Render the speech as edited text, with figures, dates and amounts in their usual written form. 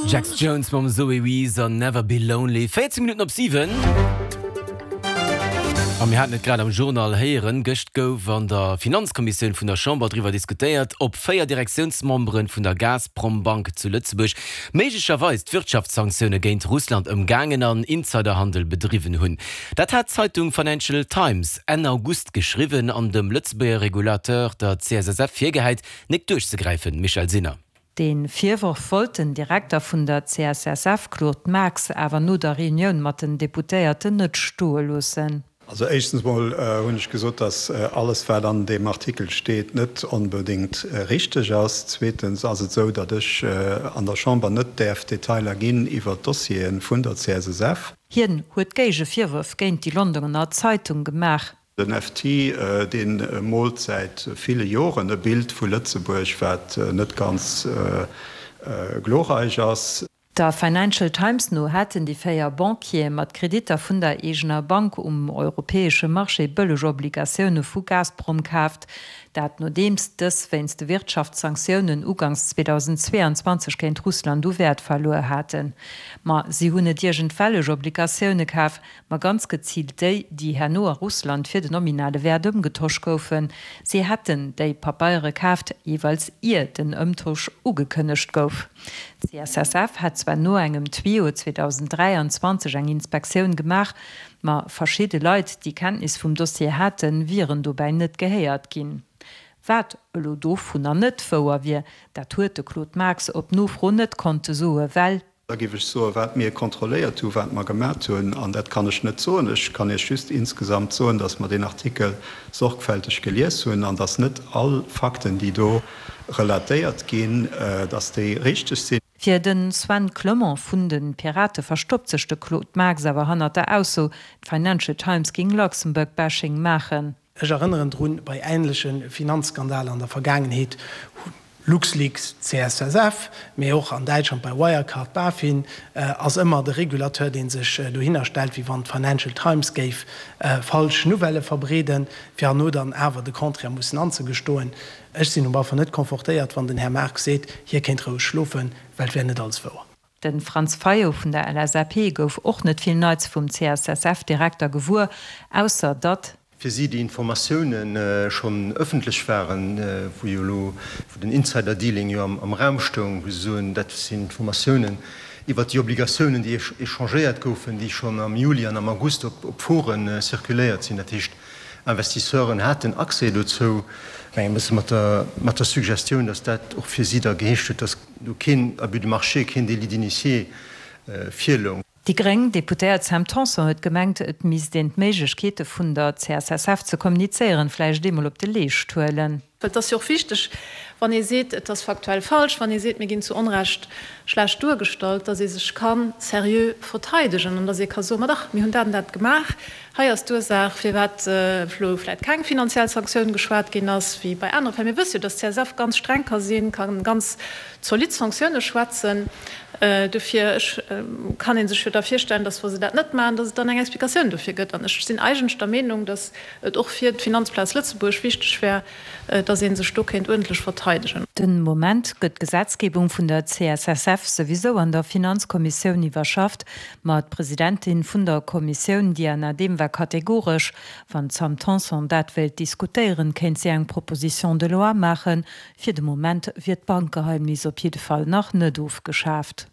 Jax Jones mam Zoe Wees an Never Be Lonely. 14 Minutten op 7. A mir haten et grad am Journal héieren, Gëscht gouf an der Finanzkommissioun vun der Chamber driwwer diskutéiert, ob 4 Direktiounsmembere vun der Gazprombank zu Lëtzebuerg méiglecherweis d'Wirtschaftssanktioune géint Russland ëmgaangen an Insiderhandel bedriwwen hunn. Dat hat d'Zeitung Financial Times Enn August geschriwwen an dem Lëtzebuerger Regulateur, der CSSF, virgehäit, nek duerchzegräifen. Michèle Sinner. Dee Virworf wollt den Direkter vun der CSSF Claude Marx awer no der Reunioun mat den Deputéierten net stoe loossen. Also éischtens mol hunn ech gesot, datt alles wat an deem Artikel steet net onbedéngt richteg ass. Zweetens ass et esou, datt ech an der Chamber net däerf Detailer ginn iwwer d'Dossiere vun der CSSF. Hien huet Géigevirwërf géint déi Londoner Zeitung gemaach. Den FT, dee moolt säit ville Joren e Bild vu Lëtzebuerg, wat net ganz glorreich ass. Der Financial Times no hätten déi 4 Banquiere mat Kreditter vun der eegener Bank um europäesche Marché bëlleg Obligatioune vu Gazprom kaaft. Dat nodeems dës wéinst de Wirtschaftssanktiounen ugangs 2022 géint Russland u Wäert verluer haten. Ma si hunn net iergendwellech Obligatioune kaf, ma ganz geziilt déi, déi herno a Russland fir den nominale Wäert ëmgetosch goufen. Si hätten déi Papeiere kaaft, jeeweils ier den Ëmtosch ugekënnegt gouf. D'CSSF hätt zwar no engem Tuyau 2023 eng Inspektioun gemaach, ma verschidde Leit, déi Kenntnis vum Dossier haten, wieren dobäi net gehéiert ginn. Wat elo dovunner net wouer wier, dat huet de Claude Marx op Nofro net konnte soe well. Da géif ech soen, wat mir kontrolléiert hu, wat mer gemat hunn, an dat kann ech net soen. Ech kann Iech just insgesamt soen, dass mer deen Artikel sorgfälteg gelies hunn an dass net all Fakten, déi do relatéiert ginn, dass déi richteg sinn. Fir de Sven Clement vun de Pirate verstoppt sech de Claude Marx awer hannert der Ausso, d'Financial Times géing Luxembourg-Bashing maachen. Ech erënneren drun, bei änleche Finanzskandaler an der Vergaangenheet, LuxLeaks, CSSF, mee och an Däitschland bei Wirecard, BaFin, ass ëmmer de Régulateur, dee sech dohinner stellt, wéi wann d'Financial Times géif falsch Nouvellë verbreeden, fir herno dann awer de Contraire mussen anzegestoen. Ech sinn op alle Fall net confortéiert, wann den Här Marx seet, hie kéint roueg schlofen, well et wär net alles wouer. De Franz Fayot vun der LSAP gouf och net vill Neits vum CSSF-Direkter gewuer, ausser datt. Fir si déi Informatioune schonn ëffentlech waren, wou jo elo, wou den Insider-Dealing jo am Raum stoung, wou se soen, dat sinn Informatiounen iwwert déi Obligatiounen, déi échangéiert goufen, déi schonn am Juli an am August op Foren circuléiert sinn. Dat heescht, Investisseuren haten Accès dozou. Ech mengen e bësse mat der Suggestioun, datt dat och fir si da geheescht huet, datt do keen Abus de marché, keen Délit d'initié virloung. Déi gréng Deputéiert Sam Tanson huet gemengt, et misst een d'Méiglechkeete vun der CSSF ze kommunizéieren vläicht eemol op de Leescht huelen. Well et ass jo och wichteg, wann ee seet, et ass faktuell falsch, wann ee seet, mir ginn zu Onrecht schlecht duergestallt, datt ee sech ka seriö verteidegen an datt ee ka soen, ma dach, mir hunn dat an dat gemaach, hei ass d'Ursaach, firwat elo vläicht keng finanziell Sanktioun geschwat ginn ass, wéi bei anere Fäll. Mir wësse jo, datt d'CSF ganz streng ka sinn, ka ganz zolidd Sanktioune schwätzen. Dofir, ech kann ee sech jo da virstellen, datt, wa se dat net maachen, datt et dann eng Explikatioun dofir gëtt. An ech sinn eigentlech der Meenung, datt et och fir d'Finanzplaz Lëtzebuerg wichteg wär, datt ee sech do kéint uerdentlech verteidegen. Den Moment gëtt d'Gesetzgebung vun der CSSF souwisou an der Finanzkommissioun iwwerschafft. Ma d'Presidentin vun der Kommissioun Diana Dehm war kategoresch, Wann d'Sam Tanson dat wéilt diskutéieren, kéint si eng Proposition de loi maachen, Fir de Moment wier d'Bankgeheimnis op jidde Fall nach net ofgeschaaft.